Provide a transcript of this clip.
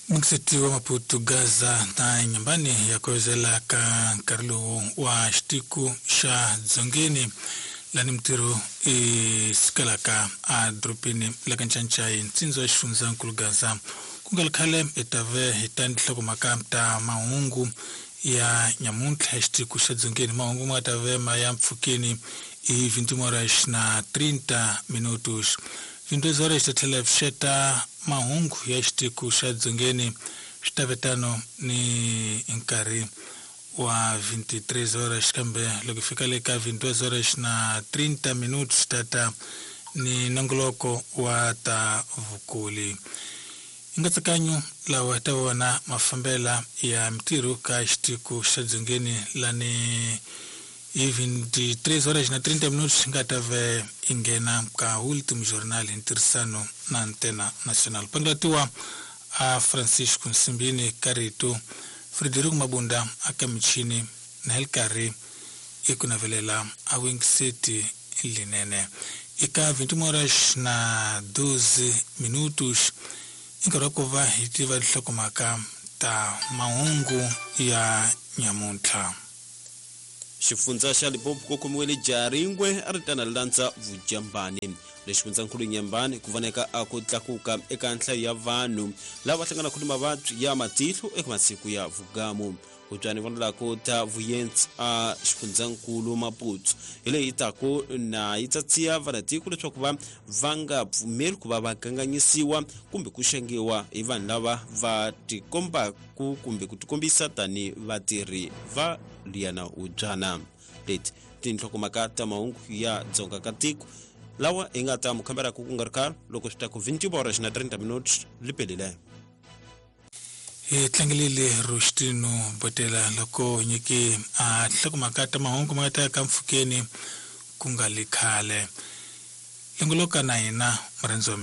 Mukiseti wa Maputo Gaza na Nyambani ya kuwezela ka nkarhi lowu wa xitiku xa Dzongeni lani mintirho i sukelaka a dorobeni la ka Ncancai ntsindza wa xifundzankulu Gaza ku nga ri khale hi ta ve hi ta ni tinhlokomhaka ta mahungu ya nyamuntlha ya xitiku xa Dzongeni. Mahungu ma nga ta ve ma ya mpfhukeni i 21 horas na 30 minutos. 22 horas ta tlhela hi pfuxeta mahungu ya xitiku xa Dzongeni swi ta ve tano ni nkarhi wa 23 horas, kambe loko hi fika le ka 22 horas na 30 minutos tata ni nongoloko wa ta vukuli. Hi nkatsakanyo lawa hi ta vona mafambela ya mintirho ka xitiku xa Dzongeni lani hi 23 horas na 30 minutos hi nga ta ve hi nghena ka Ultimo Jornal hi ntirhisano na Antena Nacional. Pangulatiwa a Francisco Nsimbini ka rito, Frederico Mabunda a ka michini na hi karhi i ku navelela a wingiseti linene. Eka 21 horas na 12 minutos i nkarhi wa ku va hi tiva tinhlokomhaka ta mahungu ya nyamuntlha. Xifundza xa Limpopo ku khomiwile jaha ringwe a ri tana landza vujambani. Le xifundzankulu Nyambani ku voneka a ku tlakuka eka nhlayo ya vanhu lava hlanganaka ni mavabyi ya matihlo eka masiku ya vugamu. Hubyani vonelaku ta vuyentsi a xifundzankulu Maputo hi leyi taku na yi tsatsiya vanatiko leswaku va va nga pfumeli ku va va kanganyisiwa kumbe ku xangiwa hi vanhu lava va tikombaku kumbe ku tikombisa tani vatirhi va liyana hubyana. Leti tinhlokomhaka ta mahungu ya dzonga ka tiko lawa hi nga ta mu kambelaka ku nga ri khale loko swi ta ku 20 horas na 30 minutos li pelile. Hi tlangelile Rostino Botela loko nyiki a tinhlokomhaka ta mahungu ma nga ta ya ka mpfhukeni ku nga li khale. Longoloka na hina murhandzi wa.